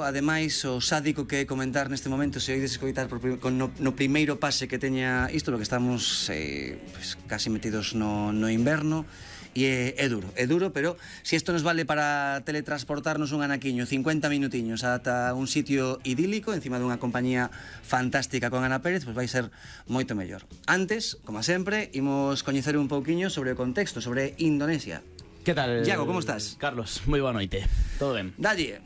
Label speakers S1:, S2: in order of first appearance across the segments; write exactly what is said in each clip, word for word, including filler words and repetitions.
S1: ademais, o sádico que é comentar neste momento, se oides escoitar por, no, no primeiro pase que teña isto, lo que estamos eh, pues, casi metidos no, no inverno, e é, é duro, é duro, pero se isto nos vale para teletransportarnos un anaquiño cincuenta minutiños ata un sitio idílico encima dunha compañía fantástica con Ana Pérez, pois vai ser moito mellor. Antes, como sempre, imos coñecer un pouquiño sobre o contexto, sobre Indonesia.
S2: Que tal?
S1: Iago, como estás?
S2: Carlos, moi boa noite. Todo ben?
S1: Dalle.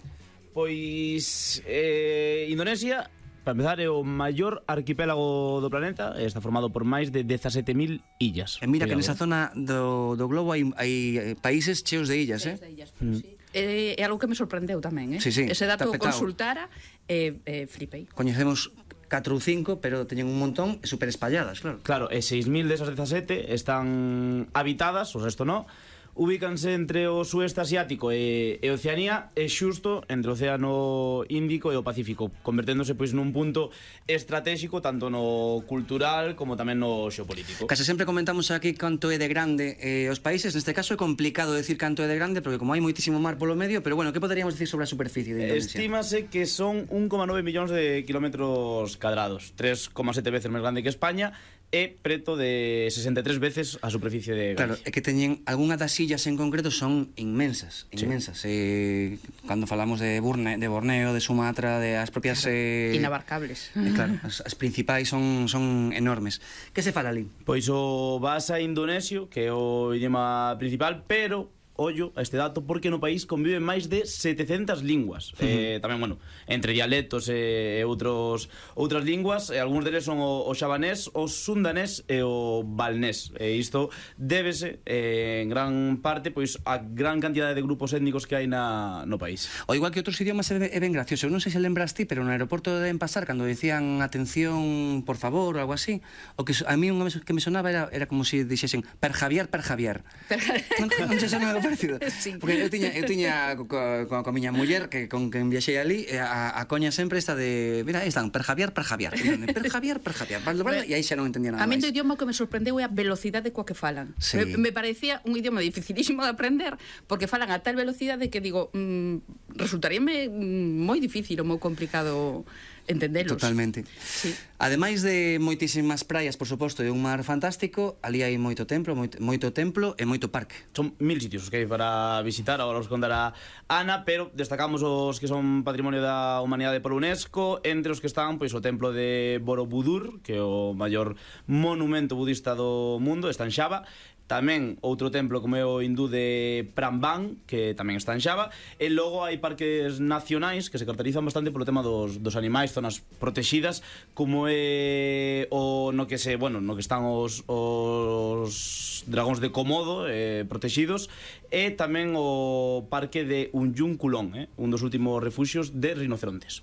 S2: Pois eh, Indonesia, para empezar, é o maior arquipélago do planeta. Está formado por máis de dezasete mil illas.
S1: E mira que nesa zona do, do globo hai, hai países cheos de illas, eh?
S3: De illas, mm. sí. É, é algo que me sorprendeu tamén, eh?
S1: Sí, sí,
S3: ese dato
S1: tapetao.
S3: consultara e eh, eh, flipei.
S1: Coñecemos catro ou cinco, pero teñen un montón super espalladas, claro.
S2: Claro, e seis mil desas dezasete están habitadas, o resto non. Ubícanse entre o sueste asiático e, e Oceanía, e xusto entre o Océano Índico e o Pacífico, converténdose pois nun punto estratégico tanto no cultural como tamén no xeopolítico.
S1: Case sempre comentamos aquí canto é de grande eh, os países, neste caso é complicado decir canto é de grande porque como hai moitísimo mar polo medio, pero bueno, que poderíamos decir sobre a superficie de Indonesia?
S2: Estímase que son un coma nove millóns de kilómetros cadrados, tres coma sete veces máis grande que España, e preto de sesenta e tres veces a superficie de Galicia.
S1: Claro, é que teñen algunha das illas en concreto son inmensas, inmensas. Sí. Eh, cando falamos de, Burne, de Borneo, de Sumatra, de as propias
S3: claro,
S1: eh,
S3: inabarcables.
S1: Eh, claro, as, as principais son son enormes. Que se fala ali?
S2: Pois o basa indonesio, que é o idioma principal, pero ollo a este dato porque no país conviven máis de setecentas linguas. Uh -huh. eh, tamén, bueno, entre dialectos e outros outras linguas, e algúns deles son o, o xavanés, o sundanés e o balnés. E isto débese eh, en gran parte pois a gran cantidade de grupos étnicos que hai na, no país.
S1: O igual que outros idiomas é, é ben gracioso. Eu non sei se lembras ti, pero no aeroporto deben pasar cando decían atención, por favor, ou algo así, o que a mí unha vez que me sonaba era, era como se si dixesen per Javier, per Javier. Per... non, non se sonaba parecido. Sí. Porque eu tiña, eu tiña co, co, co miña muller que con quen viaxei ali, a, a coña sempre esta de, mira, aí están, per Javier, per Javier. Per Javier, per Javier. E aí xa non entendía nada
S3: máis. A min
S1: do
S3: idioma que me sorprendeu é a velocidade coa que falan.
S1: Sí.
S3: Me, me parecía un idioma dificilísimo de aprender porque falan a tal velocidade que digo, mm, resultaríame moi difícil ou moi complicado entendelos.
S1: Totalmente.
S3: Sí.
S1: Ademais de moitísimas praias, por suposto, e un mar fantástico, ali hai moito templo, moito, moito templo e moito parque.
S2: Son mil sitios os que hai para visitar, agora os contará Ana, pero destacamos os que son Patrimonio da Humanidade por UNESCO, entre os que están pois o templo de Borobudur, que é o maior monumento budista do mundo, está en Xava. Tamén outro templo como é o hindú de Pramban, que tamén está en Xava. E logo hai parques nacionais que se caracterizan bastante polo tema dos, dos animais, zonas protegidas, como é o no que se, bueno, no que están os, os dragóns de Komodo eh, protegidos, e tamén o parque de Unjung Kulon, eh, un dos últimos refuxios de rinocerontes.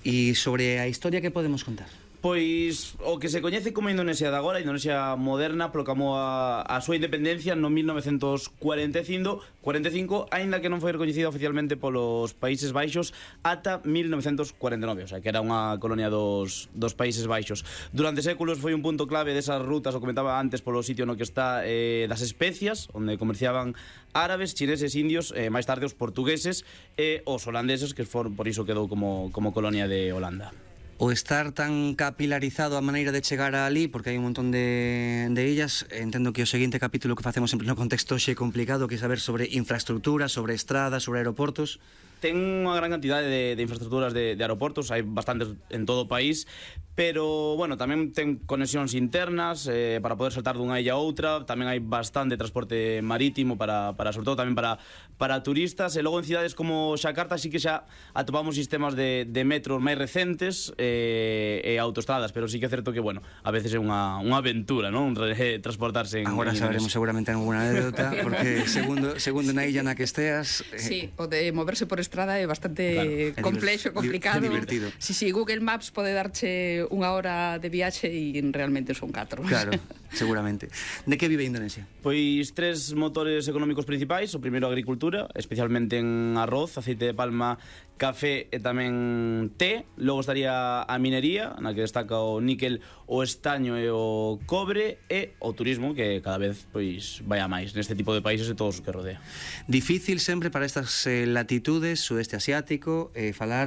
S1: E sobre a historia que podemos contar?
S2: Pois o que se coñece como Indonesia de agora, a Indonesia moderna, proclamou a, a súa independencia no mil novecentos cuarenta e cinco, aínda que non foi recoñecida oficialmente polos Países Baixos ata mil novecentos cuarenta e nove, o sea, que era unha colonia dos, dos Países Baixos. Durante séculos foi un punto clave desas rutas, o comentaba antes, polo sitio no que está eh, das especias, onde comerciaban árabes, chineses, indios, eh, máis tarde os portugueses e os holandeses, que for, por iso quedou como, como colonia de Holanda.
S1: O estar tan capilarizado a maneira de chegar ali, porque hai un montón de, de illas, entendo que o seguinte capítulo que facemos sempre no contexto xe complicado, que é saber sobre infraestructura, sobre estradas, sobre aeroportos.
S2: Ten unha gran cantidade de, de infraestructuras de, de aeroportos, hai bastantes en todo o país, pero, bueno, tamén ten conexións internas eh, para poder saltar dunha illa a outra, tamén hai bastante transporte marítimo para, para sobre todo tamén para, para turistas, e logo en cidades como Xacarta sí que xa atopamos sistemas de, de metros máis recentes e, e autostradas, pero sí que é certo que, bueno, a veces é unha, unha aventura, non? Transportarse en...
S1: Agora saberemos seguramente alguna anécdota, porque segundo, segundo na illa na que esteas...
S3: Eh... Sí, o de moverse por estrada é bastante claro, complexo, complicado.
S1: É divertido.
S3: Si, si, Google Maps pode darche unha hora de viaxe e realmente son catro.
S1: Claro, seguramente. De que vive Indonesia?
S2: Pois tres motores económicos principais. O primeiro, a agricultura, especialmente en arroz, aceite de palma, café e tamén té. Logo estaría a minería, na que destaca o níquel, o estaño e o cobre, e o turismo, que cada vez pois vai a máis neste tipo de países e todos os que rodea.
S1: Difícil sempre para estas eh, latitudes, sudeste asiático, eh, falar